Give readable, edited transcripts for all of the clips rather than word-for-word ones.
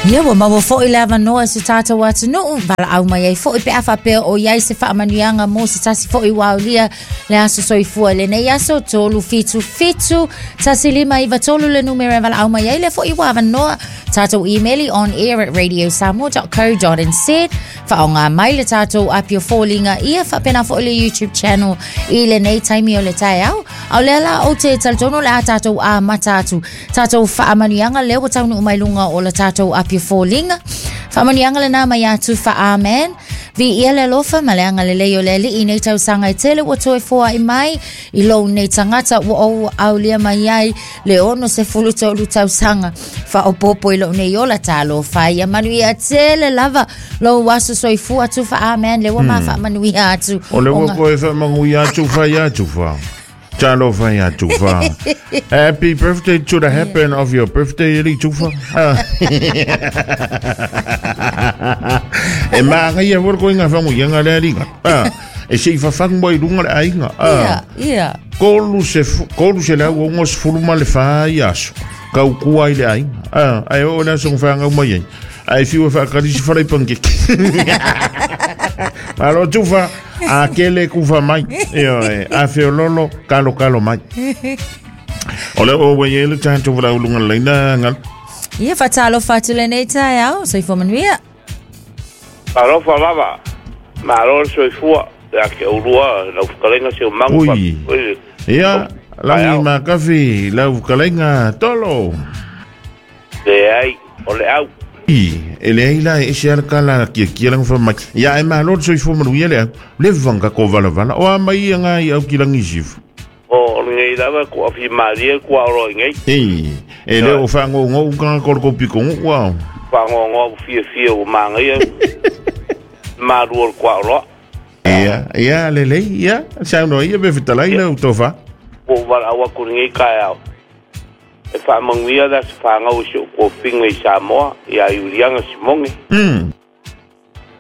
Ia ua maua foi le avanoa i se tatou atunuu, valaau mai ai foi pe a faapea o i ai se faamanuiaga mo se tasi foi ua aulia le aso soifua i lenei aso 377 1593 le numera e valaau mai ai lea foi ua avanoa tatou email on air at radiosamoa.co.nz faaaoga mai le tatou api o foliga ia faapena foi le YouTube channel i lenei taimi o le taeao. A o lea la ou te talitonu o le a tatou amata atu tatou faamanuiaga lea ua taunuu mai luga o le tatou api o foliga. Faamanuiaga lena mai ia Tufa Amen. Viia le alofa ma le agalelei o le Alii i nei tausaga e tele ua toe foai mai i lou nei tagata ua ou aulia mai ai le 63 tausaga faaopoopo i lou nei ola talofa ia manuia tele lava lou aso soifua Tufa Amen le ua ma faamanuia atu O le ua koe faamanuia atu fa ia Tufa. Talofa ia Tufa. Happy birthday to the happen of your birthday, Eli Tufa. Ah. E maangaia foi le koiga faamanuiaga lea liga. Ah. E se i fafagu mai i luga le aiga. Ah. Ia, ia. 364 ma le fa i aso. Kaukua ai le aiga. Ah, ae oo le aso na fanau mai ai. Ae fiu e faakali si fala i pankeke. Malo Tufa, a kele kufa mai. Ioe, a feololo, kalo kalo mai. O le o ua i le tatou valauluga laina ngal. Ia faatalofa atu lenei taeao, soifua manuia. Alofa lava, malo le soifua, ia te oulua lau fetalaiga Seumagu Ui. faapea foi le Ia, lagi ma kafi lau fetalaiga Tolo. Leai, o le au. I, e leai la e ese lava le tala a kiakia lana fai mai. Ia ae malo le soifua manuia le au. Leva na tatou valavala. O a mai ia nga i au ki lagi sifu. O lenei lava e kuafi malie kua olo i nei. I, e le o fagogo'u tagata o le tou pitonuu ao. Fagogoa ua fiafia ua manaia malu o le kuaoloa. Ia, ia, lelei, ia, saunoa ia pe fetalai lau tofa. Ua ou valaau atu i lenei taeao e faamanuia le aso fanau i si ou tofiga i Samoa ia Iuliana Simone.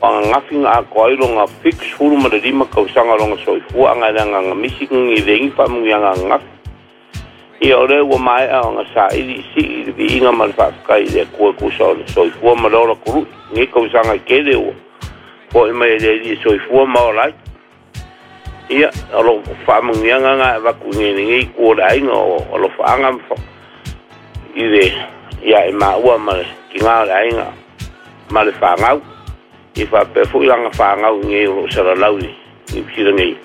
O ananafi na atoa ai lona 75 tausaga lona soifua ana e leaga na misi ni lengi faamanuiaga ananafi. Ia o lea ua maea ona saili i sii i le viiga ma le faafetai i le Atua e tusa o le soifua ma le ola tului. Lenei tausaga e tele ua fo'i mai e le Alii e soifua ma ola ai. Ia, o lo faamanuiaga na e avatu i lenei itu o le aiga o alofaaga ma i le ia e maua ma le tina o le aiga ma le fanau. I faapea foi lana fanau i nei o lo o salalau i Niu Sila nei.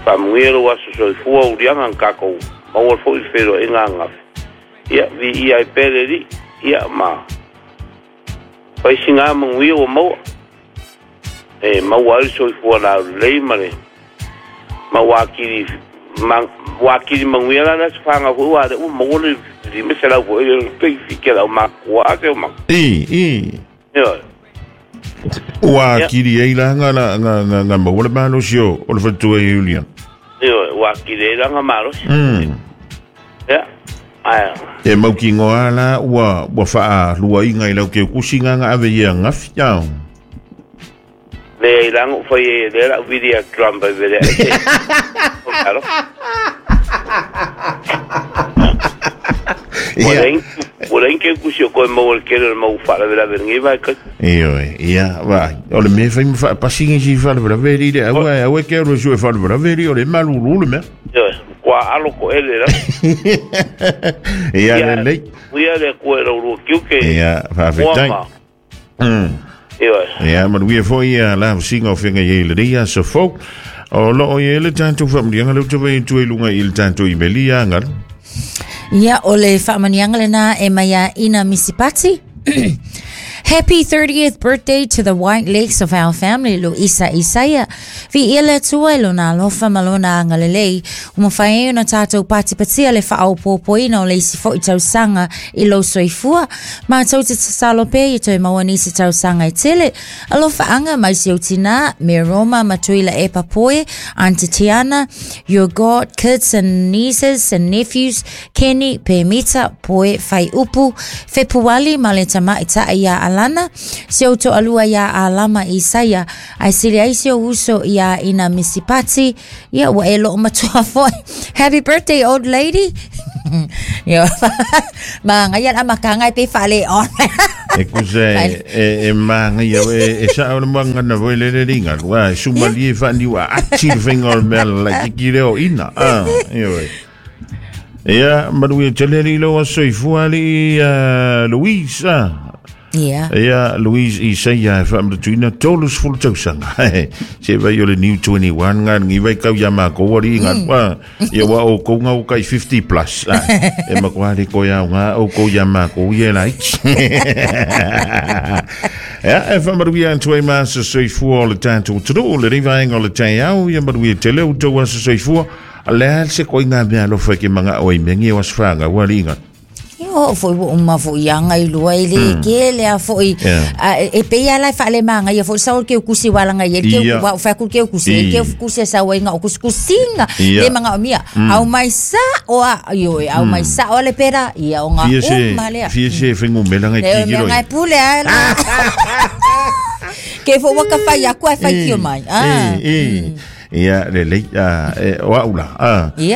Faamanuia lou aso soifua uliaga na tatou maua foi le feiloaiga ananafi. Ia, viia ai pea le Alii, ia ma fai sina manuia ua maua. E maua ai le soifua laulelei ma le mau atili ma ua atili manuia la le aso fanau foi aua o lea ua maua le 500 foi le pei fike lau matua a se ma. I, i. Ioe. Ua atili ai la nga la nga nga nga maua le malosi o o le faletua i Iuliana. Ioe, ua atili ai la nga malosi. Ia. Ae. E mautinoa la ua ua faaluaina i lau teukusi nga nga ave ia gafi ao. Leai la na ou fai ai e lea la au vili a Trump ai vele ai se. Alo. Ua leai ua leai ni teukusi o toe maua i le tele o le mau faalavelave i lenei vaitaimi. Ioe, ia, vaai, o le mea e fai ma faapasi nisi i faalavelave alii le aua, aua e te alu e sue faalavelave alii, o le malulu le mea. Ioe, matua alo toele lava. Ia, lelei. Ia le Atua i la ulua tiute. Ia, faafetai. Ioe. Ia, manuia foi ia la usiga o feagai ai i lenei aso fou. O loo i ai le tatou faamanuiaga lea ou te vaai atu ai i luga i le tatou imeli ia Galu. Ia, o le faamanuiaga lena e mai ia Ina Misipati. Happy 30th birthday to the white legs of our family, Luisa Isaia. Viia le Atua i lona alofa ma lona agalelei, ua mafai ai ona tātou patipatia le faaopoopoina o le isi foi tausaga i lou soifua. Mātou te tatalo pea ia toe maua nisi tausaga e tele. Alofaaga mai si ou tinā, me Roma ma Tuila Epa Poe, Aunty Tiana, your God, kids and nieces and nephews, Kenny, Pemita, Poe, Whaiupu, Fepuali ma le tamaitai iā Alana, si ou toalua iā Alama Isaia, Ae sili ai si ou uso iā Ina Misipati, ia ua e loo matua foi. Happy birthday old lady. Ia, ma ngai ala makanga e pe whale on. E kusa e maga ia e sao le moaga foi le le liga ua e sumalie faaniu aati le faiga o le mea lalaitiki lea o ina a ioe. Ia manuia tele alii lou aso soifua alii Louise a. Ia. Ia Louise Isaia e faamanatuina 30 tausaga. Se vai o le New 21 ngā ngi vai kau ia mākou ari ngā ia wa o kou ngau kai 50 plus. E makoa le koe au ngā o kou ia mākou ia lai. Ia e faamanuia atu ai ma aso soifua o le tātou atunuu le rivaenga o le taeao ia manuia tele o tou aso soifua. Le a se koe ngā mea alofa ke manga o i mengi o aso whanga ua li ngā. O foi ua uma foi anga i lua i le ke le a foi e pe ia lai whaale manga ia foi sa o ke kusi walanga ia ke wa fa ku ke kusi ke kusi sa wa inga o kusi kusinga le manga o mia au mai sa o a yo au mai sa o le pera ia o nga uma le fia se whengu mela ngai kikiro. Le ngai pule a ke fo waka whai aku ai whai kio mai. Ia le lei o au la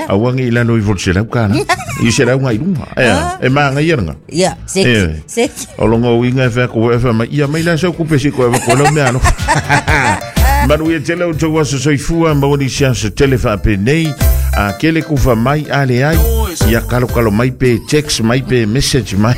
aua ngi lalo i fo se lau kana i se lau ngai lunga e manga ia nga ia seki seki o longo winga fa ko e fa mai ia mai la so ku pesi ko e ko lo mea no manuia tele o tau aso soifua ma wani siasa tele fa pe nei a kele ku fa mai ale ai ia kalo kalo mai pe text mai pe message mai.